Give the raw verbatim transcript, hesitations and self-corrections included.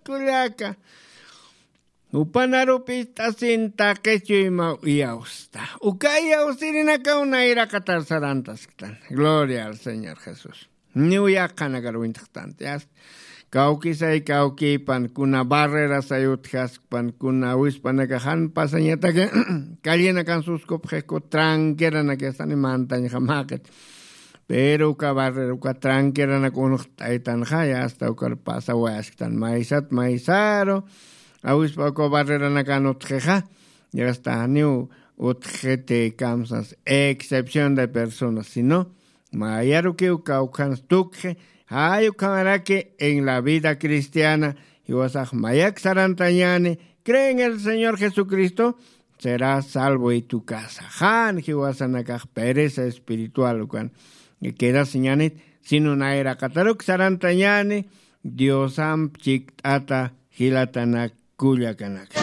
Kullaka, jupanarup ist'asin taqi chuymaw iyawsta. Uka iyawsirinakaw nayraqatar sarantasktan. Gloria al Señor Jesús. Niw yaqhanakar uñtxtanti asta. Kawkisay kawkipan kuna barrerasay utjaskpan kuna awispanaka jan pasañataki callinakan suskupxi ku tranqueranaki astani mantañxamaqit. Pero uka barrera uka tranqueranak unxt'aytanxaya asta ukar pasawayasktan maysat maysaru awispa uka barreranakan utxixa. Yasta janiw utxiti kamsas excepción de personas sino mayarukiw kawkhansa tukxi. Jay ukhamaraki en la vida cristiana jiwasax mayak sarantañäni cree en el Señor Jesucristo, será salvo y tu casa. Jan jiwasanakax pereza espiritual ukan quedasiñänit sino nayraqataruk sarantañäni. Diosamp chikt'ata jilatanak kullakanaka.